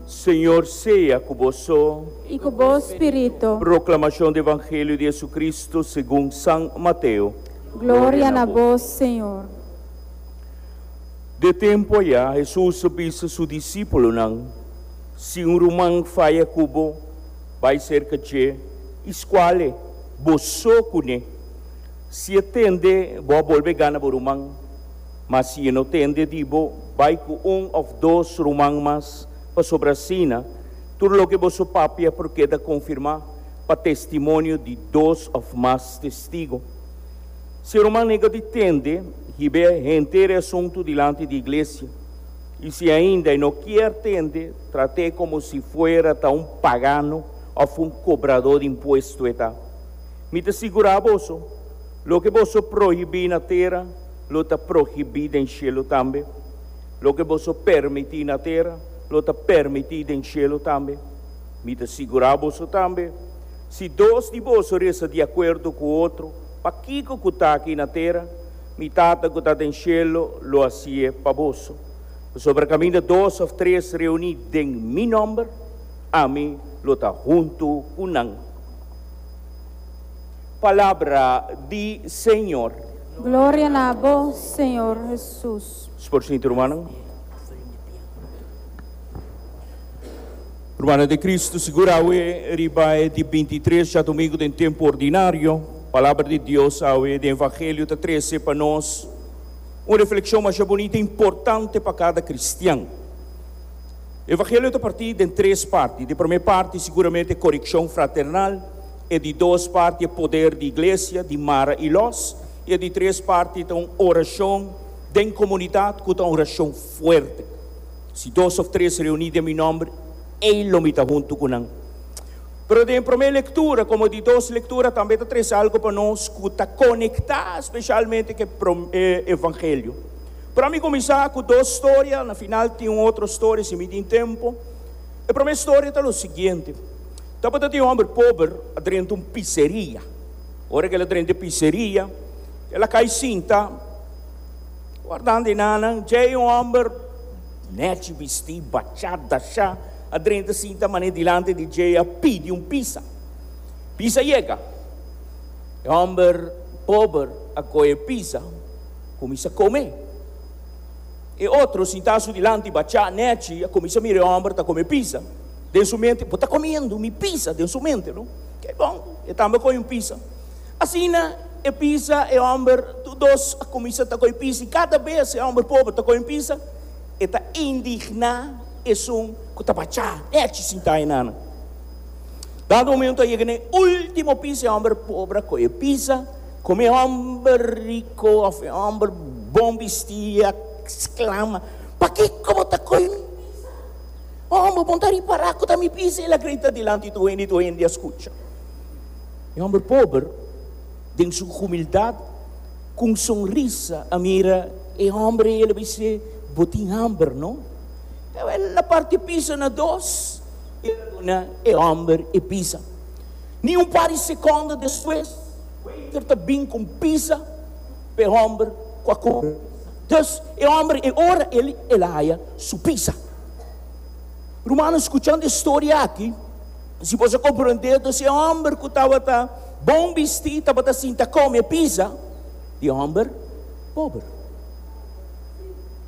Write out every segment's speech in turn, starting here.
Señor sea ku boso. I ku bo spiritu. Proklamashon di Evangelio di Jesucristo segun San Mateo. Gloria na bo, Señor. De tempu ayá Hesus a bisa su disípulonan, Si un ruman faya ku bo, bai serka dje i skual e, bo so kuné. Si e tende, bo a bolbe gana bo ruman. Ma si e no tende di bo, bai ku un òf dos ruman mas, pasobra asina tur loke boso papia por keda konfirmá pa testimonio di dos òf mas testigu. Si e ruman nega di tende, hib'é henter e asuntu dilanti di iglesia. I si ainda e no kier tende, trat'é komo si fuera ta un pagano òf un kobradó di impuesto e ta. Mi ta sigurá boso, loke boso prohibí na tera, lo ta prohibí den shelu tambe. Loke boso permití na tera, lo ta permití den shelu tambe. Mi ta sigurá boso tambe, si dos di boso resa di akuerdo ku otro, pakiko ku ta aki na tera, mi Tata ku ta den shelu lo hasié pa boso. Pasobra kaminda dos òf tres reuní den mi nòmber, ami lo ta huntu ku nan. Palabra di Señor. Gloria na bo, Señor Hesus. Por sinti rumannan. Rumannan den Cristo, sigur awe riba e di bintitres djadumingu den tempu ordinario, Palabra di Dios awe den Evangelio ta trese pa nos un reflexion masha bunita i importante pa kada cristian. Evangelio ta partí den tres parti. Di promé parti siguramente e korekshon fraternal, e di dos parti e poder di iglesia di mara i lòs, i e di tres parti ta un orashon den komunidat ku ta un orashon fuerte. Si dos òf tres reuní den mi nòmber, ei lo mi ta huntu ku nan. Pero den e promé lektura komo e di dos lektura tambe ta trese algu pa nos ku ta konektá speshalmente ku e evangelio. Pero ami kuminsá ku dos storia, na final tin un otro storia si mi tin tempu. E promé storia ta lo siguiente, Tabata tin un hòmber pober a drenta un piseria. Ora ku el a drenta e piseria, el a kai sinta wardando e nannan. Djei un hòmber nèchi bistí, bachá, dashá, a drenta sinta manera dilanti di djei a pidi un pisa. Pisa yega. E hòmber pober a kohe e pisa. Kuminsá kome. E otro sintá su dilanti bachá nèchi a kuminsá mira e hòmber ta kome pisa. Den su mente, Bo ta komiendo mi pisa, den su mente, no? Ke bon, e tambe a kohe un pisa. Asina e pisa, e hòmber, tur dos a kuminsá ta kohe pisa i kada bes e hòmber pober ta kohe un pisa, e ta indigná esun ku ta bachá nèchi sintá einan. Dado momento a yega na e último pisa, e hòmber pober a kohe pisa. Como e homber rico of e homber bon bisti a sclama, Pakico bo ta coy mi pisa? Homber, bo no ta ripara cu ta mi pisa? El a grita dilanti tur hende y tur hende a scucha. E homber pober, den su humildad, cu un sonrisa a mira e homber y el a bis'é, Bo tin hamber, no? El a parti e pisa na dos y el a duna e homber e pisa. Ni un par di sekondo despues, waiter ta bin ku un pisa pa e hòmber ku a kome. Dus, e hòmber e ora el el a haya su pisa. Rumannan, skuchando e storia aki, si boso a komprondé, dus e hòmber ku tabata bon bistí tabata sinta kome e pisa di e hòmber pober,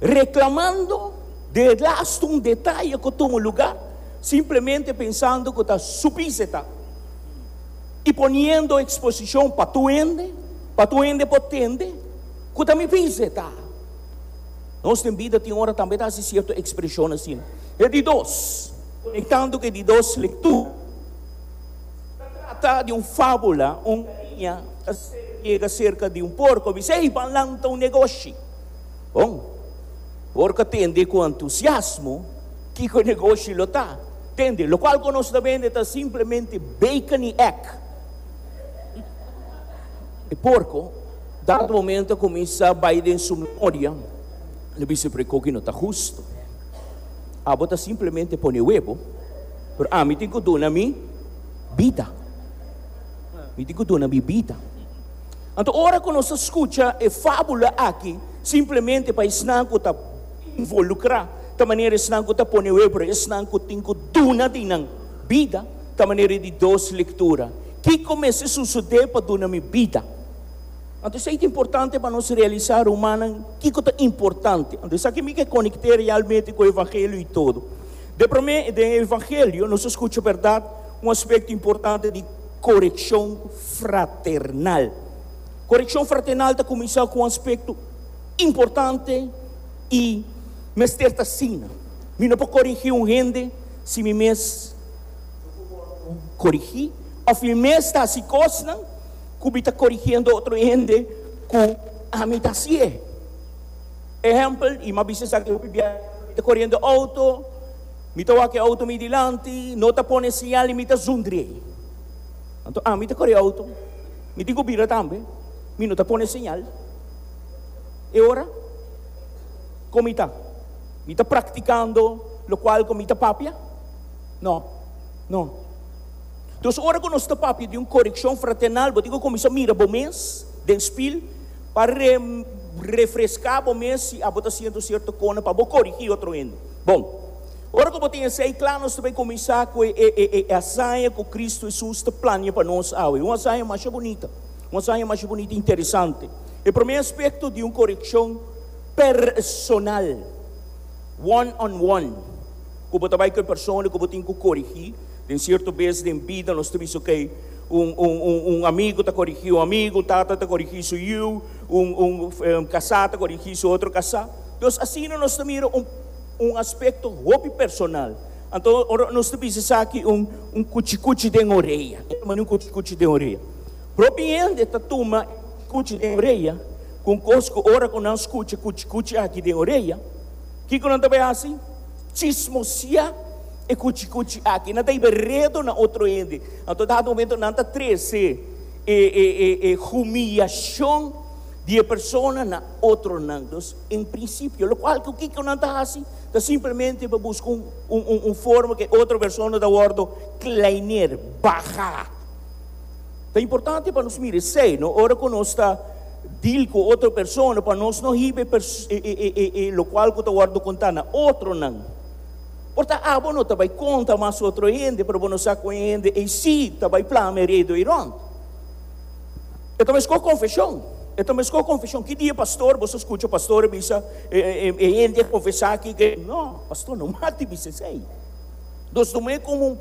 reklamando de lastu un detaye ku tuma lugá. Simplemente pensando cu ta su pisa e ta. Y poniendo exposicion pa tur hende, pa tur hende por tende cu ta mi pisa e ta. Nos den bida tin ora tambe ta haci cierto expresion asina. E di dos, conectando cu e di dos lectura, ta trata di un fabula, un galiña ta yega cerca di un porco, bisa, Ey, ban lanta un negoshi. Bon, porco a tende cu entusiasmo. Kiko e negoshi lo ta? Tende, lokual ku nos ta bende ta simplemente bacon i egg. E porko, dado momento a kuminsá bai den su memoria, el a bisa, Pero e koki no ta hustu. Abo ta simplemente pone webo, pero ami tin ku duna mi bida. Mi tin ku duna mi bida. Anto ora ku nos ta skucha e fábula aki, simplemente pa esnan ku ta involukrá. ta manera esnan ku ta pone webu, pero esnan ku tin ku duna di nan bida ta manera di dos lektura. Kiko mester susodé pa duna mi bida? Anto esei ta importante pa nos realisá, rumannan, kiko ta importante. Anto esaki mi ke konekt'é realmente ku evangelio i todo. De promé, den e evangelio nos a skucha bèrdat un aspekto importante di korekshon fraternal. Korekshon fraternal ta kuminsá ku un aspekto importante i mester ta asina. Mi no por korigí un hende si mi mes no por wòrdu korigí òf mi mes ta hasi kosnan ku mi ta korigiendo otro hende ku ami ta hasié. Ehèmpel, i mi a bisa esaki hopi bia, mi ta koriendo outo, mi ta wak e outo mi dilanti, no ta pone señal i mi ta zundrié. Anto ami ta kore outo, mi tin ku bira tambe, mi no ta pone señal. E ora, kon mi ta? Mi ta praktikando lokual ku mi ta papia? No, no. Dus ora ku nos ta papia di un korekshon fraternal, bo tin ku kuminsá mira bo mes den spil pa refreská bo mes si abo ta siento sierto kona pa bo korigí otro hende. Bon, ora ku bo tin esei kla, nos ta bai kuminsá ku e hazaña ku Kristu Hesus ta plania pa nos awe. Un hazaña masha bunita, un hazaña masha bunita i interesante. E promé aspekto di un korekshon personal, one on one, ku bo ta bai ku e persona ku bo tin ku korigí. Den sierto bes den bida nos ta bisa ok, un un un un amigu ta korigí un amigu, un tata ta korigí su yiu, un un kasá ta korigí su otro kasá. Dus asina nos ta mira un un aspekto hopi personal. Anto ora nos ta bisa esaki un un kuchikuchi den orea. E ta manda un kuchikuchi den orea. Propi hende ta tuma e kuchikuchi den orea ku un kos ku ora ku nan skucha kuchikuchi aki den orea, kiko nan ta bai hasi? Chismosiá e kuchikuchi aki. Nan ta hiba redo na otro hende. Anto dado momento nan ta trese e e e e humiyashon di e persona na otronan. Dus en prinsipio lokual ku kiko nan ta hasi ta simplemente pa buska un un un forma ku e otro persona ta wòrdu kleineer, baha. Ta importante pa nos mira esei, no? Ora ku nos ta deal ku otro persona pa nos no hiba e e e e e lokual ku ta wòrdu kontá na otronan. Por ta abo no ta bai konta mas otro hende, pero bo no sa ku e hende ei sí ta bai plama e redo ei rònt. E ta meskó konfeshon. E ta meskó konfeshon. Ki dia pastor, boso skucha pastor a bisa e e e hende a konfesá aki ke. No, pastor no mag di bisa esei. Nos tum'é komo un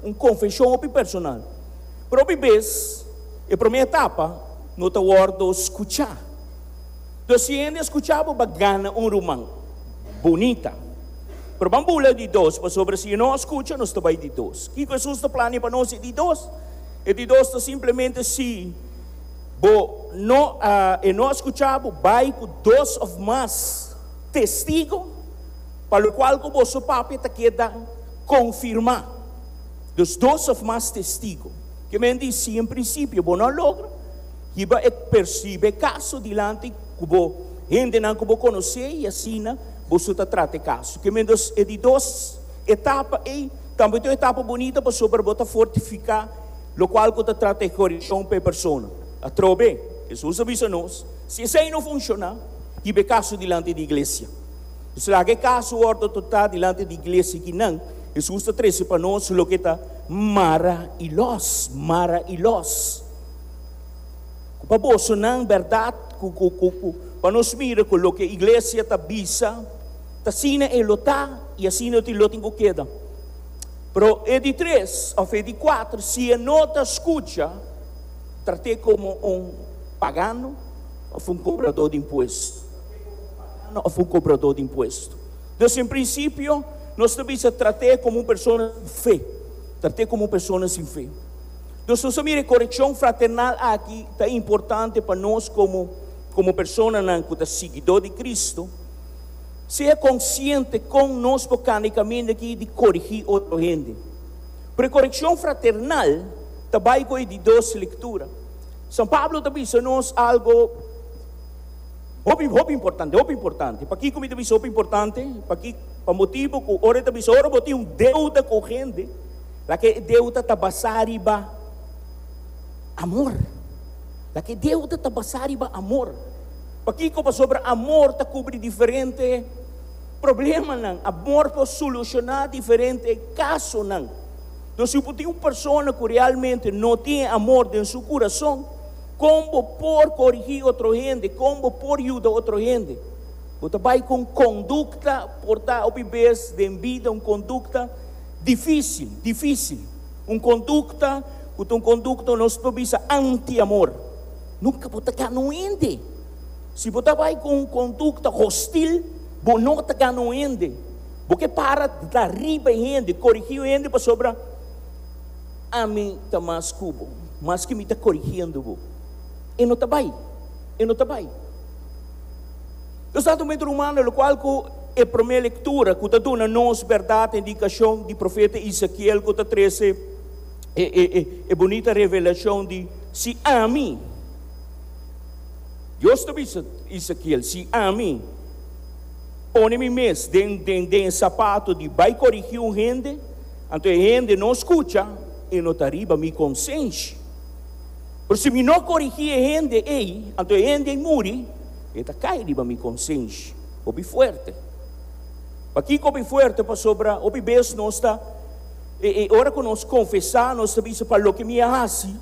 un konfeshon hopi personal. Pero hopi bes e promé etapa no ta wòrdu skuchá. Entonces si hende a skuchá bo, bo a gana un ruman. Bunita. Pero ban bula di dos, pasobra si e no a skucha, nos ta bai di dos. Kiko Hesus ta plania pa nos e di dos? E di dos ta simplemente si bo no a, e no a skucha bo, bai ku dos òf mas testigo, pa lokual ku boso papia ta keda konfirmá. Dus dos òf mas testigo. Ke men di si en prinsipio bo no a logra, hiba e persibe e kaso dilanti ku bo hendenan ku bo konosé i asina boso ta trata e kaso. Ke men dos e di dos etapa ei tambe ta un etapa bunita pasobra bo ta fortifiká lokual ku ta trata e korekshon pa e persona. Atrobe, Hesus a bisa nos, si esei no funshoná, hiba e kaso dilanti di iglesia. Dus laga e kaso wòrdu tratá dilanti di iglesia kinan Hesus ta trese pa nos loke ta mara i lòs, mara i lòs. Ku pa bosonan bèrdat ku ku ku ku pa nos mira ku loke iglesia ta bisa ta asina e lo ta i asina lo tin ku keda. Pero e di tres òf e di kuater si e no ta skucha trat'é komo un pagano òf un kobradó di impuesto. Pagano òf un kobradó di impuesto. Dus en prinsipio nos ta bisa trat'é komo un persona sin fe. Trat'é komo un persona sin fe. Dus nos a mira e korekshon fraternal aki ta importante pa nos komo komo personanan ku ta siguidó di Kristu, sea konsiente kon nos por kanda e kaminda aki di korigí otro hende. Pero e korekshon fraternal ta bai ku e di dos lektura. San Pablo ta bisa nos algo hopi hopi importante, hopi importante. Pakiko mi ta bisa hopi importante? Paki pa motibu ku ora e ta bisa ora bo tin un deuda ku hende, Laga e deuda ta basá riba amor. Laga e deuda ta basá riba amor. Pakiko? Pasobra amor ta kubri diferente problemanan, amor por solushoná diferente kasonan. Entonces, si bo tin un persona ku realmente no tin e amor den su kurason, kon bo por korigí otro hende? Kon bo por yuda otro hende? Bo ta bai ku un kondukta, por ta hopi bes den bida un kondukta difísil, difísil. Un kondukta ku ta un kondukta nos por bisa anti-amor. Nunka bo ta gana un hende. Si bo ta bai ku un kondukta hostil, bo no ta gana un hende. Bo ke para ta riba e hende, korigí un hende pasobra ami ta mas ku bo, maske mi ta korigiendo bo. E no ta bai, e no ta bai. Nos ta tumendo rumano lokual ku e promé lektura ku ta duna nos bèrdat e indikashon di profeta Ezekiel ku ta trese e e e e bunita revelashon di si ami, Dios ta bisa Ezekiel, si ami pone mi mes den den den e sapato di bai korigí un hende, anto e hende no skucha, e no ta riba mi konsenshi. Pero si mi no korigí e hende ei, anto e hende ei muri, e ta kai riba mi konsenshi. Hopi fuerte. Pakiko hopi fuerte? Pasobra hopi bes nos ta, e ora ku nos konfesá, nos ta bisa, Pa loke mi a hasi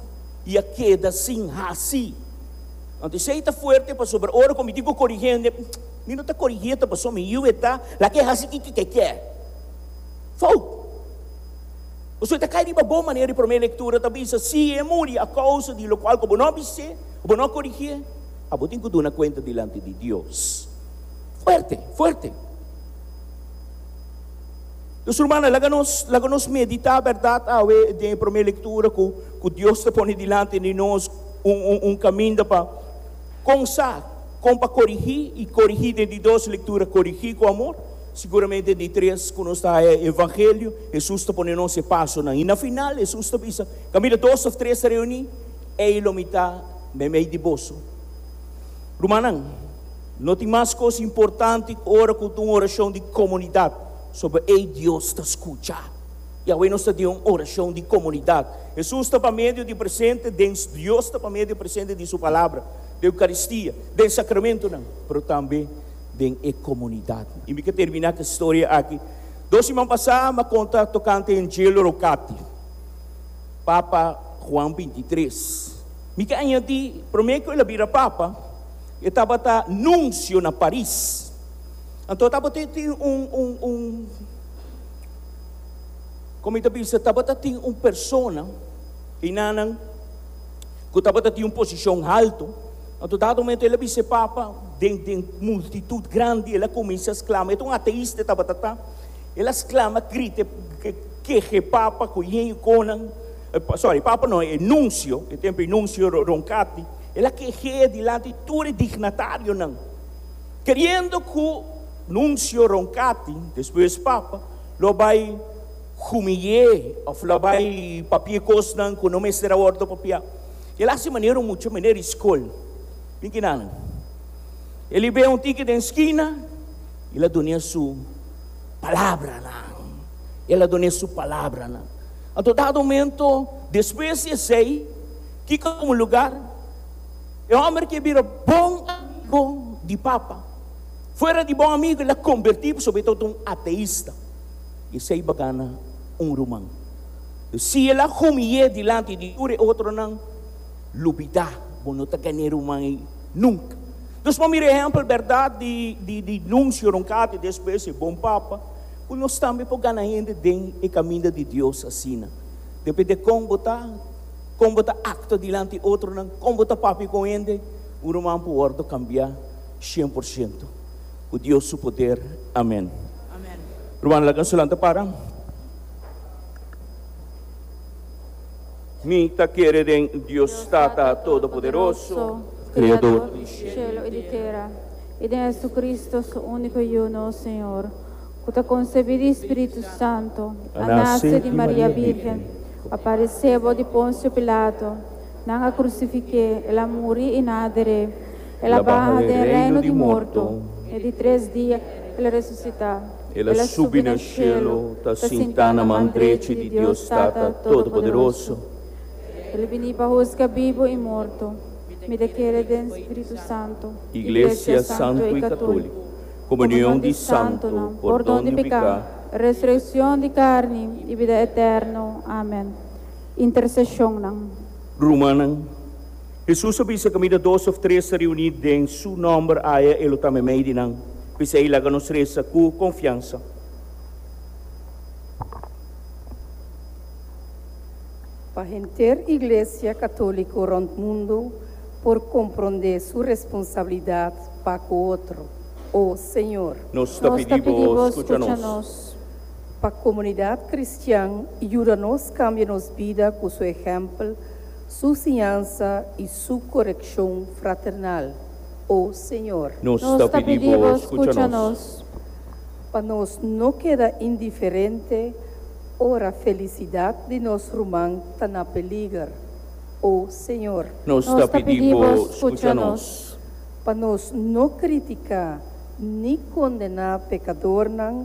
i a keda sin hasi. Anto esei ta fuerte pasobra ora ku mi tin ku korigí hende, mi no ta korigié ta pasobra mi yu e ta laga e hasi kiko ke kier. Fout! Pasobra e ta kai riba bo manera di promé lektura ta bisa, Si e muri a kousa di lokual ku bo no a bis'é, ku bo no a korigié, abo tin ku duna kuenta dilanti di Dios. Fuerte, fuerte. Dus rumannan, laga nos, laga nos meditá bèrdat awe den e promé lektura ku ku Dios ta pone dilanti di nos un un un kaminda pa kon sa kon pa korigí i korigí den di dos lektura korigí ku amor. Siguramente di tres ku nos ta haya e evangelio, Hesus ta pone nos e pasonan. I na final Hesus ta bisa, Kaminda dos òf tres ta reuní, ei lo mi ta meimei di boso. Rumannan, no tin mas kos importante ku ora ku ta un orashon di komunidat, soba ei Dios ta skucha. I awe nos ta den un orashon di komunidat. Hesus ta pa medio di presente den Dios ta pa medio presente di su Palabra, den Eukaristia, den sakramentonan, pero tambe den e komunidat. I mi ke terminá ku e storia aki. Dos siman pasá mi a konta tokante Angelo Roccati, Papa Juan 23. Mi ke añadí, promé ku el a bira Papa, e tabata nunsio na Paris. Anto tabata tin un, un, un, komo mi ta bisa, tabata tin un persona einanan ku tabata tin un posishon haltu. Anto dado momento el a bisa e papa den den multitud grandi, el a cuminsa sclama, e ta un ateista e tabata ta, el a sclama, grita, keha e papa cu yen conan, sorry, papa no, e nuncio, e tempo e nuncio Roncati, el a keh'e dilanti tur e dignatarionan, keriendo cu nuncio Roncati, despues papa, lo bay humiy'e of lo bay papia cosnan cu no mester a wordo papia. El a hasi manera un mucha meneer di skol. Bin kinanan. El i bea un tiki den skina, el a dun'é su palabranan. El a dun'é su palabranan. Anto dado momento, despues di esei, kiko a tuma lugar? E homber ke bira bon amigo di papa. Fuera di bon amigo, el a kombertí pasobra e tabata un ateista. I esei bagana un ruman. Si el a humiy'é dilanti di tur e otronan, lubidá, bo no ta gan'é ruman ei nunka. Nos por mira ehèmpel bèrdat di di Nuncio Roncati, despues e bon papa, ku nos tambe por gana hende den e kaminda di Dios asina. Depende kon bo ta, kon bo ta aktua dilanti otronan, kon bo ta papia ku hende, un ruman por wòrdu kambiá 100%. Ku Dios su poder. Amèn. Ruman, laga nos lanta para. Mi ta kere den Dios Tata Todopoderoso, Kreador di shelu i di tera, i den Jesucristo, su úniko Yu, nos Señor, ku ta konsebí di Spiritu Santu, a nase di Maria Bírgen, a paresé bou di Ponsio Pilato, nan a krusifik'é, el a muri i nan a der'é, el a baha den reino di morto, e di tres dia el a resusitá. El a subi na shelu, ta sintá na man drechi di Dios Tata Todopoderoso. El bini pa husga bibu i morto. Mi ta kere den Spiritu Santu, Iglesia santu i katóliko, Komunion di santu, pordon di piká, resurekshon di karni i bida eterno. Amen. Interseshonnan. Rumannan, Hesus a bisa kaminda dos òf tres ta reuní den Su nòmber aya E lo ta meimei di nan. P'esei laga nos resa ku konfiansa. Pa henter Iglesia Katóliko rònt mundu por komprondé su responsabilidat pa ku otro. O Señor. Nos ta pidi Bo, skucha nos. Pa komunidat kristian yuda nos kambia nos bida ku su ehèmpel, su siñansa i su korekshon fraternal. O Señor. Nos ta pidi Bo, skucha nos. Pa nos no keda indiferente ora felisidat di nos ruman ta na peliger. O Señor. Nos ta pidi Bo, skucha nos. Pa nos no kritiká ni kondená pekadornan,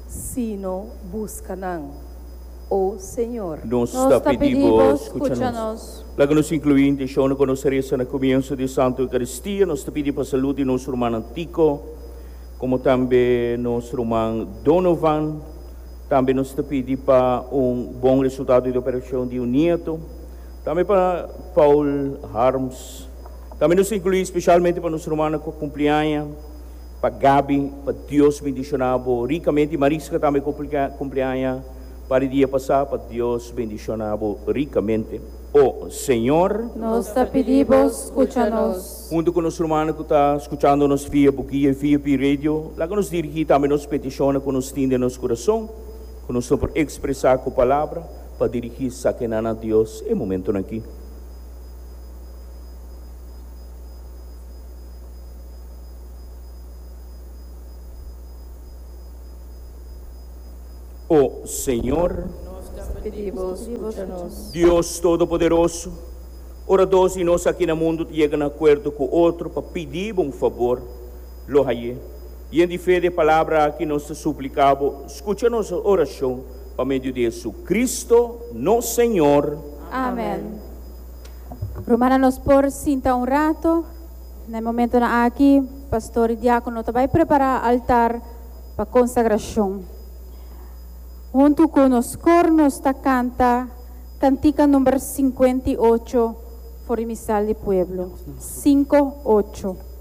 sino buska nan. O Señor. Nos ta pidi Bo, skucha nos. Laga nos inkluí intenshonnan ku nos a resa na komienso di e Santu Eukaristia. Nos ta pidi pa salú di nos rumannan Tico, komo tambe nos ruman Donovan. Tambe nos ta pidi pa un bon resultado di operashon di un nieto. Tambe pa Paul Harms. Tambe nos ta inkluí spesialmente pa nos rumannan ku a kumpli aña, pa Gaby, pa Dios bendishoná bo rikamente, i Mariska tambe ku a kumpli aña par di dia pasá, pa Dios bendishoná bo rikamente. O Señor. Nos ta pidi bo, skucha nos. Huntu ku nos rumannan ku ta skuchando nos via Bukia i via Pi Radio, laga nos dirigí tambe nos petishonnan ku nos tin den nos kurason, ku nos no por ekspresá ku palabra, pa dirigí esakinan na Dios e momentunan akí. O Señor. Nos ta pidi Bo, skucha nos. Dios Todopoderoso, ora dos di nos aki na mundu ta yega na akuerdo ku otro pa pidi Bo un fabor, lo haye. Yen di fe di e palabra aki nos ta supliká Bo, skucha nos orashon pa medio di Jesucristo, nos Señor. Amen. Rumannan nos por sinta un rato. Na e momentonan aki, pastor i diákono ta bai prepará altar pa konsagrashon. Huntu ku nos kor nos ta kanta kantika number 58 for di Misal di Pueblo. 58.